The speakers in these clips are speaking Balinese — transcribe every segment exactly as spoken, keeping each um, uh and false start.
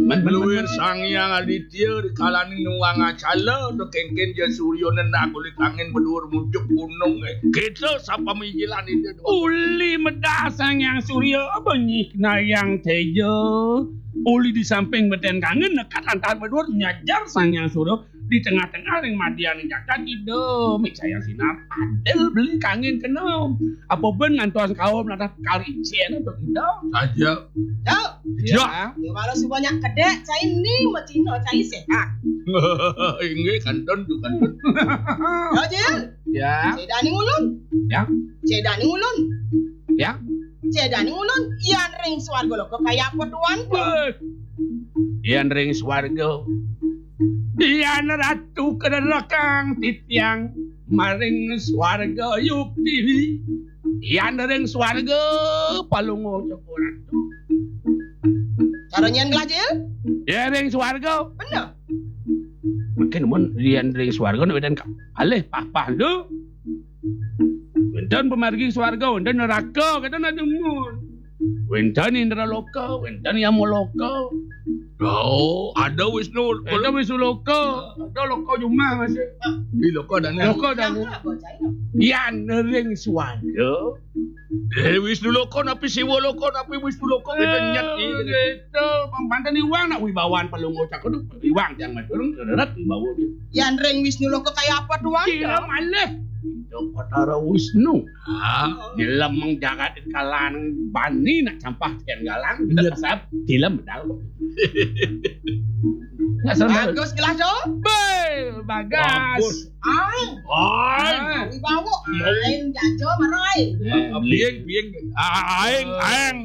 Men, men, men, men. Sang Hyang Aditya di kalaning nuwung acala, to kéngkén ja suryané nak kulit angin beduur muncuk gunung. Kita sapamijilan itu. Uli medah Sang Hyang Surya, benyih nayang téja. Uli di samping beten kangen, nekat lantaran beduur nyajar Sang Hyang Surya. Di tengah-tengah ring madian jagat Ida, mik sayang sinar adil beli kangin kena. Apa ben ngantos kaum lantas kalicen to Ida. Saja. Cok. Ya. Ya, walau sebanyak kedek, cai ni macina cai sehat. Inggih, kantun tu, kantun. Ya, Jil. Ya. Cai dani ngulun. Ya. Cai dani ngulun. Ya. Cai dani ngulun, yan ring swarga loka kaya apa tuan? Weh. Yan ring swarga. Yan ratu kederekang titiang maring swarga yukti. Yan ring swarga palungguh cokor ratu. Cara nyen gelajil? Yan ring swarga. Bener. Mungkin mun yan ring swarga nak wédan ka-, alih pah-pah tu. Wénten pamargi swarga, wénten neraka, kata nak demun. Wénten Indraloka, wénten Yamaloka. Oh, ada Wisnu. Ada Wisnu Loka, ada Loka Jumah masih. Di Loka dana. Loka dana. Yan ring swarga. Eh, Wisnu Loka napi Siwa Loka napi Wisnu Loka kita nyet ni. Kita pampanten iwang nak wibawan palungguh cakar tu. Iwang yang madurung seret wibawa dia. Yan ring Wisnu Loka kaya apa tuan? Kira malih. Itu Batara Wisnu. Ah, nyelemeng jagat kalan bani nak campah tian galang. Kita kasap tilam medal. Nak sama. Bagus gelas tu. Be, bagas. Bagus. Ai. Ai. Wibawa. Ai jajo marai. Bieng, bieng. Aeng, aeng.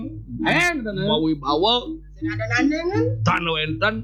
Aeng, mau wibawa. Sing ada nandingan. Tan wénten.